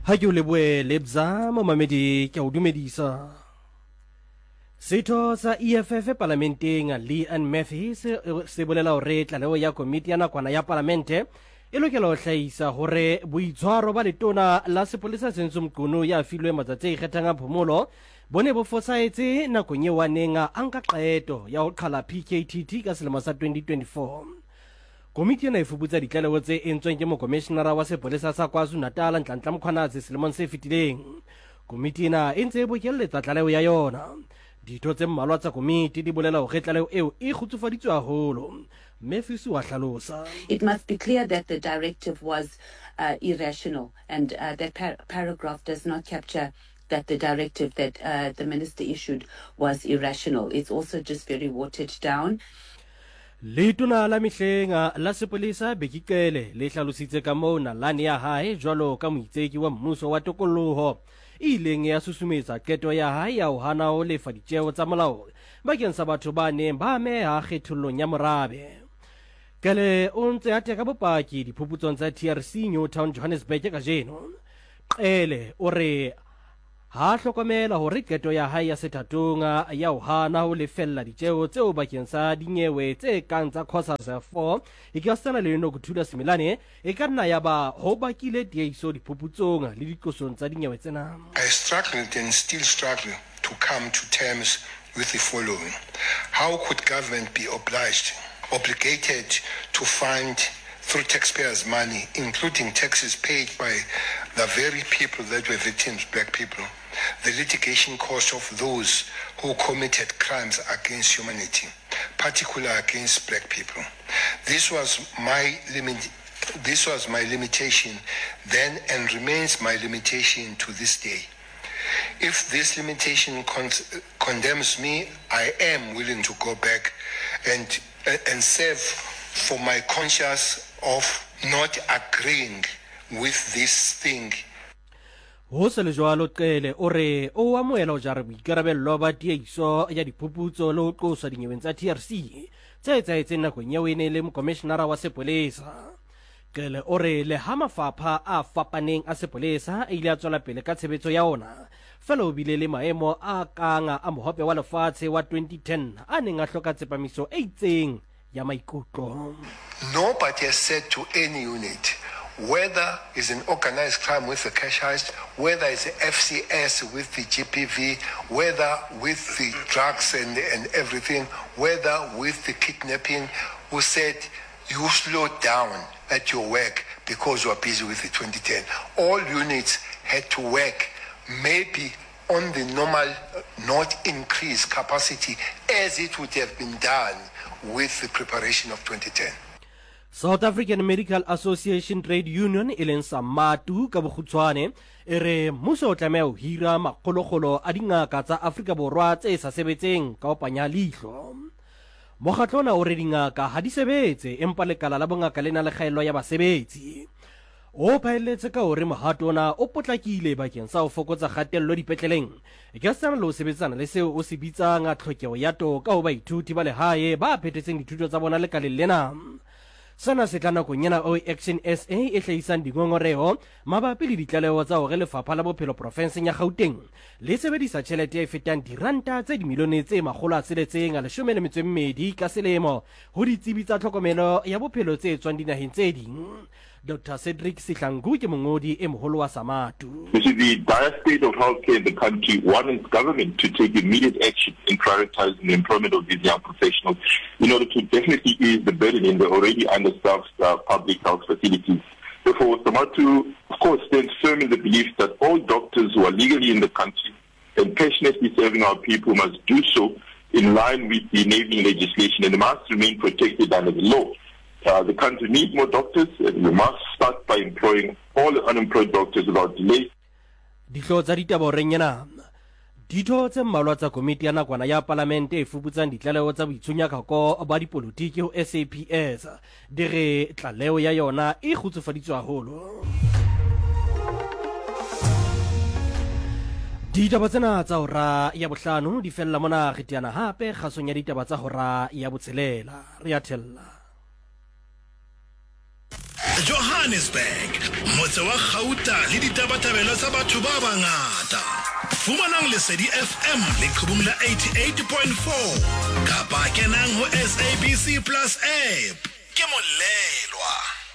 Ha ke o leboe Lebza, momamedi ke a o dumedisa. Setho sa EFF palamenteng Leanne Matthews se bolela hore tlaleho ya komiti ya nakwana ya palamente e lokela ho hlahisa hore boitshwaro ba letona la sepolesa Senzo Mchunu ya filwe matsatsi a ikgethang a phomolo bo ne bo fosahetse nakong eo a neng a nka qeto ya ho qhala PKTT ka selemo sa 2024. Komiti ena e fuputsa ditlaleho tse entsweng ke mokomeshenara wa sepolesa sa KwaZulu-Natal Nhlanhla Mkhwanazi selemong se fetileng. Komiti ena e ntse e bokelletsa tlaleho ya yona. Ditho tse mmalwa tsa komiti di bolela hore tlaleho eo e kgutsufaditswe haholo. Matthews wa hlalosa. It must be clear that the directive was uh, irrational and uh, that par paragraph does not capture that the directive that uh, the minister issued was irrational. It's also just very watered down. Letona la mehleng la sepolesa Bheki Cele le hlalositse ka moo nalane ya hae jwalo ka moitseki wa mmuso wa tokoloho e ileng ya susumetsa qeto ya hae ya ho hana ho lefa ditjeo tsa molao bakeng sa batho ba neng ba ameha kgethollong ya morabe. Cele o ntse a teka bopaki diphuputsong tsa TRC Newtown Johannesburg kajeno. Cele o re Ha a hlokomela hore qeto ya hae ya sethatong ya ho hana ho lefella ditjeo tseo bakeng sa dinyewe tse kang tsa Cosas 4 e ka setsana le Nokuthula Simelane e ka nna ya ba ho bakile tiehiso diphuputsong le diqosong tsa dinyewe tsena. I struggled and still struggle to come to terms with the following, How could government be obliged, obligated to fund through taxpayers' money, including taxes paid by the very people that were victims, black people, the litigation cost of those who committed crimes against humanity, particularly against black people? This was my limit. This was my limitation then and remains my limitation to this day. If this limitation con condemns me, I am willing to go back and, and serve for my conscience of not agreeing with this thing. Ho se le jwalo, Cele o re o amohela ho jara boikarabello ba tiehiso ya diphuputso le ho qoswa dinyeweng tsa TRC tse etsahetseng nakong eo e ne e le mokomeshenara wa sepolesa. Cele o re leha mafapha a fapaneng a sepolesa a ile a tswela pele ka tshebetso ya ona, fela o bile le maemo a kang a Mohope wa Lefatshe wa 2010 a neng a hloka tsepamiso e itseng ya maikutlo. Nobody has said to any unit, whether it's an organised crime with the cash heist, whether it's FCS with the GBV, whether with the drugs and, and everything, whether with the kidnapping, who said you slow down at your work because you are busy with the 2010. All units had to work maybe on the normal, not increase capacity as it would have been done with the preparation of 2010. South African Medical Association Trade Union e leng SAMATU ka bokgutshwane e re mmuso o tlameha ho hira makgolokgolo a dingaka tsa Afrika Borwa tse sa sebetseng ka ho panya leihlo. Mokgatlo ona o re dingaka ha di sebetse empa lekala la bongaka le na le kgaello ya basebetsi. O phaelletse ka hore mohato ona o potlakile bakeng sa ho fokotsa kgatello dipetleleng ekasitana le ho sebetsana le seo o se bitsang tlhokeho ya toka ho baithuti ba lehae ba phethetseng dithuto tsa bona lekaleng lena. Sena se tla nakong ena eo Action SA e hlahisang dingongoreho mabapi le ditlaleho tsa hore Lefapha la Bophelo profenseng ya Gauteng le sebedisa tjhelete e fetang diranta tse dimilione tse 612 ka selemo ho ditsebi tsa tlhokomelo ya bophelo tse tswang dinaheng tse ding. Doctor Cedric Sihlangu ke mongodi e moholo wa Samatu. You see, the dire state of healthcare in the country warrants government to take immediate action in prioritizing the employment of these young professionals in order to definitely ease the burden in the already understaffed uh, public health facilities. Therefore, Samatu, of course, stands firm in the belief that all doctors who are legally in the country and passionately serving our people must do so in line with the enabling legislation and must remain protected under the law. Uh, the country needs more doctors and we must start by employing all unemployed doctors without delay. Dihlooho tsa ditaba horeng ena. Ditho tse mmalwa tsa komiti ya nakwana ya palamente e fuputsang ditlaleho tsa boitshunyakako ba dipolotiki ho SAPS di re tlaleho ya yona e kgutsufaditswe haholo. Ditaba tsena tsa hora ya bohlano di fella mona re teana hape kgasong ya ditaba tsa hora ya botshelela. Re a thella. Johannesburg, motse wa kgauta le ditabatabelo tsa batho ba bangata. Fumanang Lesedi FM leqhubung la 88.4 kapa kenang ho SABC Plus app. Ke molelwa.